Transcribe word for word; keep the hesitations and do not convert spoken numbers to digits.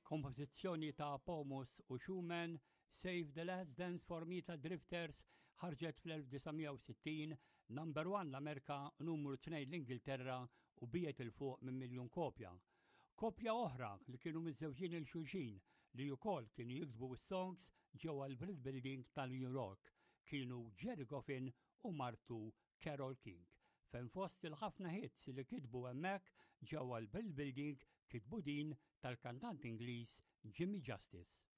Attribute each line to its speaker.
Speaker 1: Kompożizzjoni ta' Pomus u Schumann, Save the Last Dance for Me ta' Drifters ħarġet fl-elf disa' mija u sittin, number one l-Amerika, numru tnejn l-Ingilterra u biegħet 'il fuq minn miljun kopja. Koppja oħra li kienu miżżewġin lil xulxin li wkoll kienu jiktbu s-songs ġewwa l-Brill Building tal-New York kienu Gerry Goffin u martu Carole King. Fejn fost il-ħafna hits li kitbu hemmhekk ġewwa l-Brill Building kitbu din tal-kantant Ingliż Jimmy Justice.